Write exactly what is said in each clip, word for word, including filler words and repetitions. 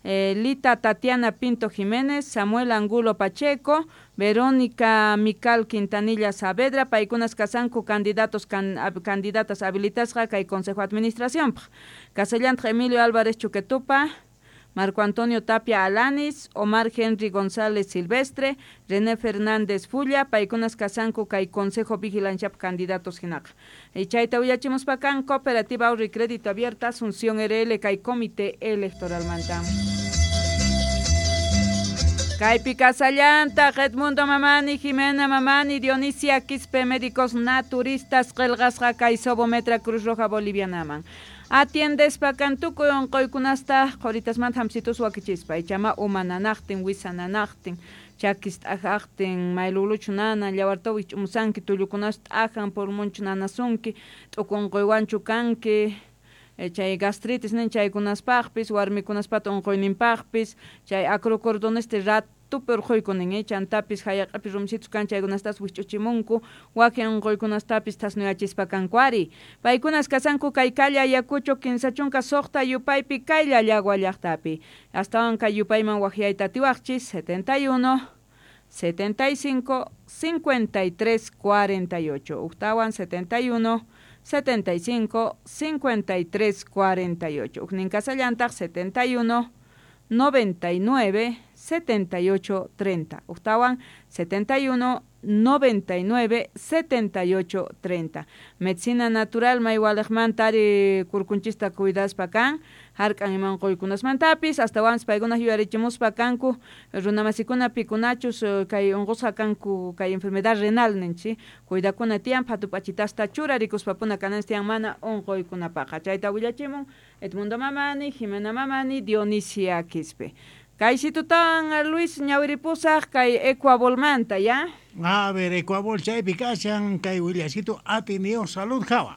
eh, Lita Tatiana Pinto Jiménez, Samuel Angulo Pacheco, Verónica Mical Quintanilla Saavedra, paykunas kasanku candidatos can, ab, candidatas habilitasqa kay Consejo Administración. Casellantaq Emilio Álvarez Chuquetupa, Marco Antonio Tapia Alanis, Omar Henry González Silvestre, René Fernández Fulla, paykunas kasanku kay Consejo Vigilanciap candidatos hinaqa. Y chayta willachimuspakan Cooperativa Ahorro y Crédito Abierta, Asunción R L kay Comité Electoral manta. Kaypi kasallantaq Edmundo Mamani, Jimena Mamani, Dionisia Quispe, médicos naturistas, qillqasqa kay Sobometra Cruz Roja Bolivianaman. Atiendespa kan tukuy unquykunasta qhuritasmanta hamsitus wakichispa, ichama uma nanaqtin, wisa nanaqtin, chakis t'ajaqtin, mayluluchu nanan, llawartawi ch'umusanki, tullukunas t'ajan, pulmonchu nanasunki, t'uku unquywanchu kanki, chay gastritis nin chaykunaspaqpis, warmikunaspata unquyninpaqpis, chay acrocordoneste rat tupi urquykunin, chantapis hayaq'api rumsitus kan chaykunastas wich'uchimunku, wakin unquykunastapis thasnuyachispa kanku ari. Paykunas kasanku kay calle Ayacucho kinsa chunka suqta yupaypi kay Llallagua llaqtapi. Astawan kay yupayman waqyayta atiwaqchis setenta y uno, setenta y cinco, cincuenta y tres, cuarenta y ocho. Uktawan setenta y uno, setenta y cinco, cincuenta y tres, cuarenta y ocho. Uknin kasallantaq setenta y uno, noventa y nueve, setenta y ocho, treinta. Uktawan setenta y uno, noventa y nueve, setenta y ocho, treinta. Medicina natural maywalejmanta ari kurkunchista cuidaspa kan, hark'an iman quykunasmantapis, astawanpis paykuna yuyarichimuspa kanku, runamasikuna pikunachus kay unqusqa kanku kay enfermedad renal ninchik, cuidakuna tiyan phatup'achitasta churarikuspapuna kananchis tiyan mana unquykunapaqa. Chayta willachimun Edmundo Mamani, Jimena Mamani, Dionisia Quispe. Kay situtan Luis ñawiripusaq kay Ecuabolmanta, ya? A ver, Ecuabol chaypi kashan kay willaysitu atinio salud jawa.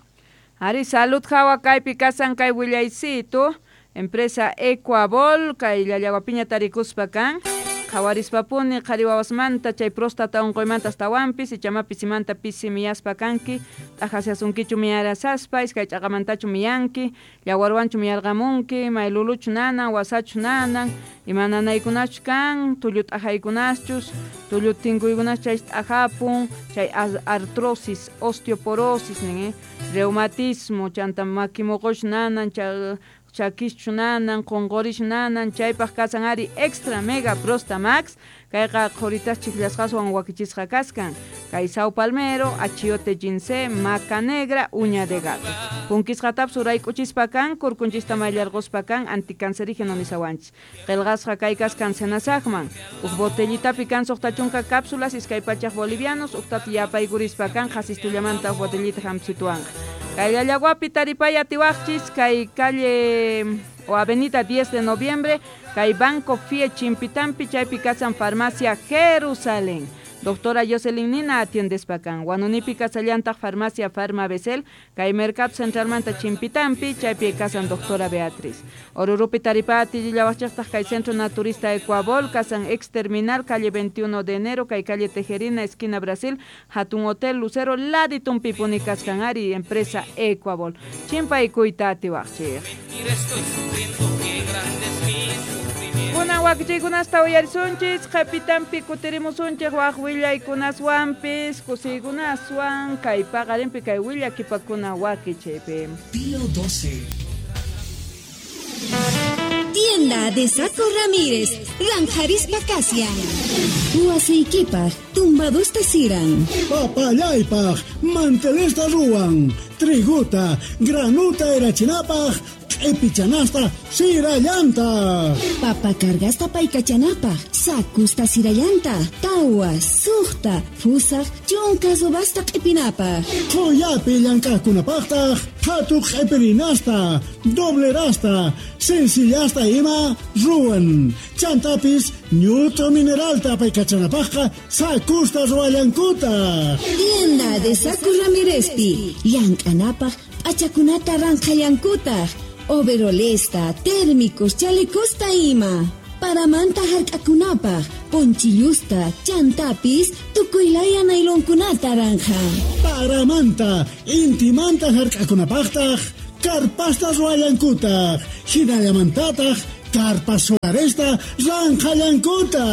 Ari salud jawa kaypi kasan kay willaysitu, empresa Ecuabol kay Llallaguapiña tarikuspa kan. Qhawarispapuni qhari wawasmanta chay próstata unquymanta astawanpis ichama pisimanta pisi miyaspa kanki, t'ajasyasunkichu miyarasaspa, iskay ch'aqamantachu miyanki, llawarwanchu miyarqamunki, mayluluchu nanan, wasachu nanan, ima nanaykunachu kan, tullu t'ajaykunaschus, tullu tinkuykunas chay t'ajapun, chay artrosis, osteoporosis nin, eh? Reumatismo, chanta makimoqosh nanan, chay chakischu nanan, qunqurish nanan, chaypaq kasan ari extra mega prosta max, kayqa qhuritas chiklasqaswan wakichisqa kaskan, kay sao palmero, achiote ginseng, maca negra, uña de gato. Punkisqatapis urayk'uchispa kan, kurkunchista mayllarquspa kan, anticancerígeno nisawanchis. Qillqasqa kay kaskan senasaqman, huk botellitapi kan suqta chunka cápsulas, iskay pachaq bolivianos, uqtata yapaykurispa kan, qasistullamanta huk botellita hamsituwanqa. Kay Llallaguapi taripay atiwaqchis, kay calle o avenida diez de noviembre, kay Banco F I E Chimpitampi, chaypi kasan Farmacia Jerusalén. Doctora Jocelyn Nina atiendespa kan. Huanunipi kasallantaq Farmacia Farma Besel, kay Mercado Centralmanta Chimpitampi, chaypi kasan Doctora Beatriz. Orurupi taripati llawachaqtaq kay Centro Naturista Ecuabol, kasan ex terminal, calle veintiuno de enero, kay calle Tejerina, esquina Brasil, Hatun Hotel Lucero, Laditumpipuni kaskan ari, empresa Ecuabol. Chimpay kuyta atiwaqchik. Kunan wakichiykunasta uyarisunchis, qhipitanpi kutirimusunchik waq willaykunaswanpis, kusiykunaswan, kay paqarinpi kay willakipakuna wakichiypi. Pío doce. Tienda de Saco Ramírez, Ranjarispa Casia. Huasiquipaj, tumbadusta siran. Papayaypaj, mantelesta ruwan, triguta, granuta erachinapaj, epichanasta sirayanta. Papa cargasta paykachanapaj, sakusta sirayanta, tawa, suqta, fusaq, chunka subasta q'ipinapaj. Qoyapi llank'aqkunapaqtaq, qhatuq q'ipirinasta, doblerasta, sencillasta ima ruwan. Chantapis ñut'u mineralta paykachanapaqqa sakusta ruwallankutaq. Tienda de Saco Ramírezpi, llank'anapaq p'achakunata ranqhallankutaq. Overolesta, térmicos, chalecosta ima. Paramanta hark'akunapaq, ponchillusta, chantapis, tukuylaya nailonkunata ranja. Paramanta, intimanta hark'akunapaqtaq, karpasta ruwallankutaq, hinallamantataq, Carpa solaresta ranqallankuta.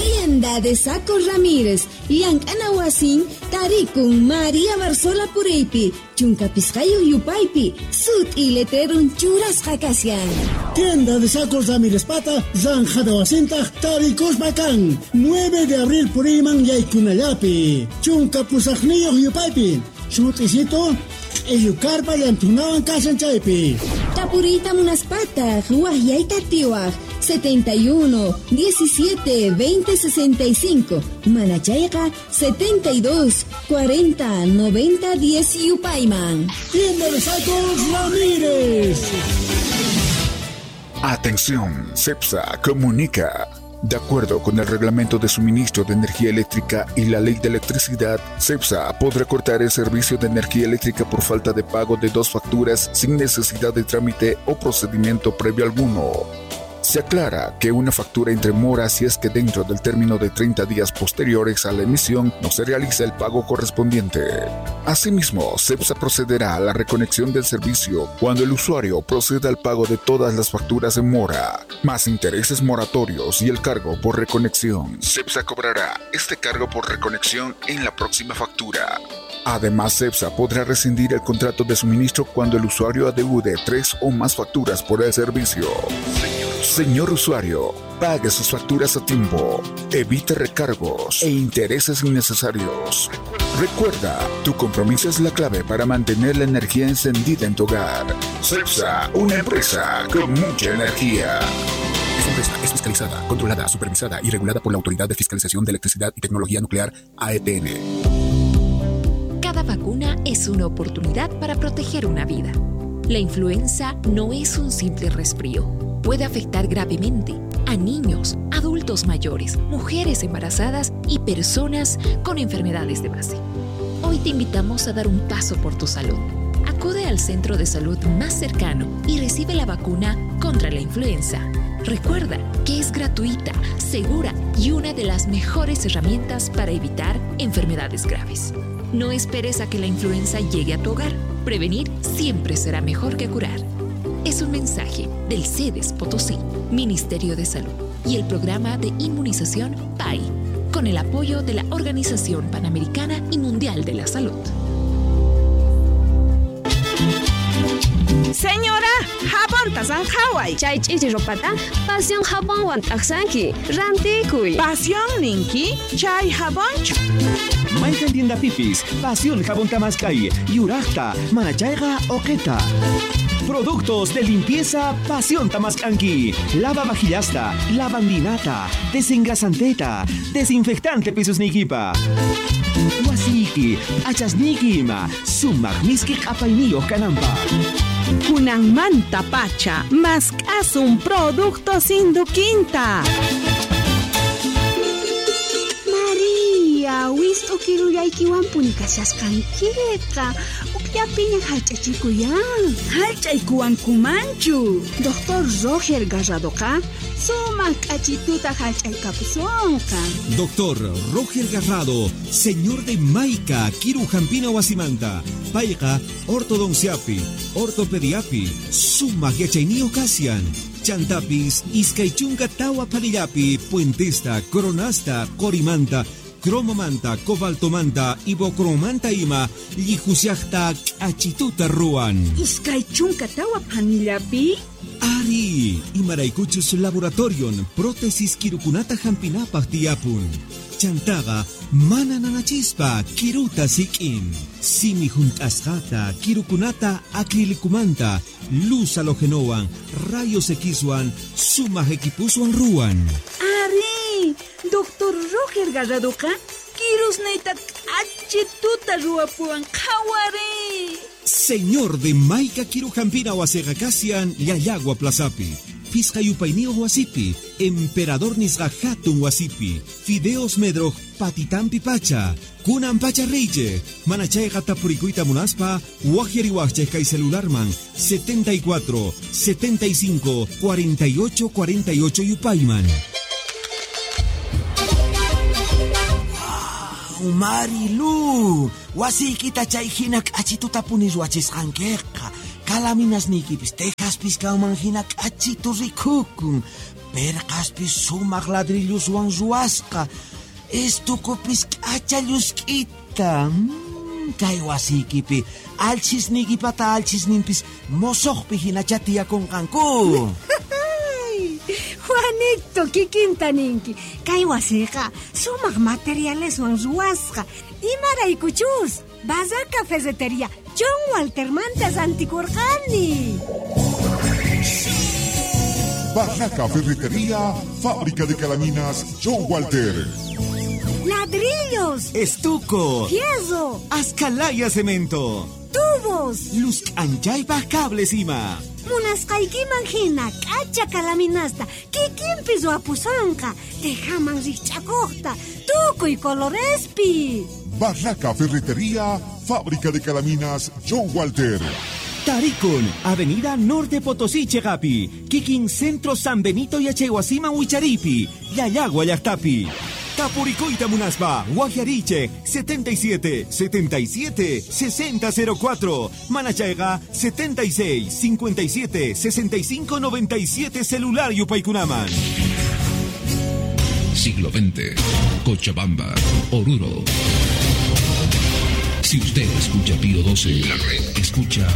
Tienda de Sacos Ramírez, llank'ana wasin, tarikun María Barzola Pureypi, chunka pisqayuq yupaypi, sut'i letrerun churasqa kashan. Tienda de Sacos Ramírez pata, zanjada wasintaq tarikuspa kan, nueve de abril puriyman yaykunallapi, chunka pusaqniyuq yupaypi, sut'isito, q'illu karpa llantunawan kashan chaypi. Tapuriyta munaspataq, waqyayta tiwaq, setenta y uno, diecisiete, veinte, sesenta y cinco, manachayqa setenta y dos, cuarenta, noventa, diez yupayman. Tienda de Sacos Ramírez. Atención, CEPSA comunica. De acuerdo con el Reglamento de Suministro de Energía Eléctrica y la Ley de Electricidad, CEPSA podrá cortar el servicio de energía eléctrica por falta de pago de dos facturas sin necesidad de trámite o procedimiento previo alguno. Se aclara que una factura entre mora si es que dentro del término de treinta días posteriores a la emisión no se realiza el pago correspondiente. Asimismo, CEPSA procederá a la reconexión del servicio cuando el usuario proceda al pago de todas las facturas en mora, más intereses moratorios y el cargo por reconexión. CEPSA cobrará este cargo por reconexión en la próxima factura. Además, CEPSA podrá rescindir el contrato de suministro cuando el usuario adeude tres o más facturas por el servicio. Señor usuario, pague sus facturas a tiempo, evite recargos e intereses innecesarios. Recuerda, tu compromiso es la clave para mantener la energía encendida en tu hogar. CEPSA, una empresa con mucha energía. Esta empresa es fiscalizada, controlada, supervisada y regulada por la Autoridad de Fiscalización de Electricidad y Tecnología Nuclear, A E T N. Cada vacuna es una oportunidad para proteger una vida. La influenza no es un simple resfrío. Puede afectar gravemente a niños, adultos mayores, mujeres embarazadas y personas con enfermedades de base. Hoy te invitamos a dar un paso por tu salud. Acude al centro de salud más cercano y recibe la vacuna contra la influenza. Recuerda que es gratuita, segura y una de las mejores herramientas para evitar enfermedades graves. No esperes a que la influenza llegue a tu hogar. Prevenir siempre será mejor que curar. Es un mensaje del SEDES Potosí, Ministerio de Salud y el programa de inmunización P A I, con el apoyo de la Organización Panamericana y Mundial de la Salud. Señora, jabón tasanjaway. Chay ch'ichi ropata, pasión jabonwan t'aqsanki, rantikuy. Pasión ninki, chay jabonchu. Mayqan tienda pipis, pasión jabón tamaskay, yuraqta, manachayqa oqeta. Productos de limpieza Pasión Tamascanqui. Lava vajillasta, lavandinata, desengrasanteta, desinfectante pisos nikipa. Wasiki, achasniki ima, sumaq miski q'apayniyuq kananpaq. Kunanmanta pacha, mask'asun productos induquinta. María, wist'u kirullaykiwanpuni kashasqankiqa. Ukllapiña hallch'achikuyan. Hallch'aykuwankumanchu. Doctor Roger Garradoqa sumaq k'achituta hallch'aykapusunqa. Doctor Roger Garrado, señor de Maica, Kiru Jampina Wasimanta, Payqa, ortodonciapi, ortopediapi, sumaq yachayniyuq kashan. Chantapis, iskay chunka tawa panillapi, puentesta, coronasta, qorimanta, cromomanta, cobaltomanta, ibocromanta ima, llijusiaqta k'achituta ruwan. Iskay chunka tawa panillapi? Ari, imaraykuchus laboratorion, prótesis kirukunata hampinapaq tiyapun. Chantaqa mana nanachispa kiruta sik'in. Simi junt'asqata, kirukunata acrilicumanta, luz halogenowan, rayos Xwan, sumaq equipuswan ruwan. Ari, Doctor Roger Garradoqa kirusniyta k'achituta ruwapuwan qhawari. Señor de Maica Kirujampina wasiqa kashan Llallagua Plazapi, Pisqa yupayniyuq wasipi, Emperador nisqa hatun wasipi, Fideos Medroj patitampi pacha, kunan pacha reyche, manachayqa tapurikuyta munaspa, waqyariwaqchej kay celularman setenta y cuatro, setenta y cinco, cuarenta y ocho, cuarenta y ocho yupayman. Marilu, wasiykita chay hina k'achituta puni ruwachisqankiqa. Kalaminasniykipis tejaspis kanman hina k'achitu rikukun. Perqaspis sumaq ladrilluswan ruwasqa. Estukupis k'acha llusk'ita. Mm, kay wasiykipi alchisniykipata alchisninpis mosoqpi hinacha tiyakunqanku. Juanito, kikinta ninki. Kay wasiqa sumaq materialeswan ruwasqa. Imaraykuchus Barraca Ferretería John Walter mantas antikurqani. Barraca Ferretería, fábrica de calaminas John Walter. Ladrillos, estuco, fierro, ascalaya cemento, tubos, luz anchaypaj cables ima. Munasqaykiman hina k'acha kalaminasta kikinpi ruwapusonqa, tejaman rikch'akuqta, tukuy colorespi. Barraca Ferretería, fábrica de calaminas John Walter. Tarikun, Avenida Norte Potosí, Chegapi, Kikin Centro San Benito Yachaywasiman Wicharipi, Llallagua llaqtapi. Tapuricoita Munaspa, Guajariche, setenta y siete, setenta y siete, sesenta cero cuatro, Manachayga, setenta y seis, cincuenta y siete, sesenta y cinco, noventa y siete, celular Yupaykunaman. Siglo veinte, Cochabamba, Oruro. Si usted escucha Pío doce, la red escucha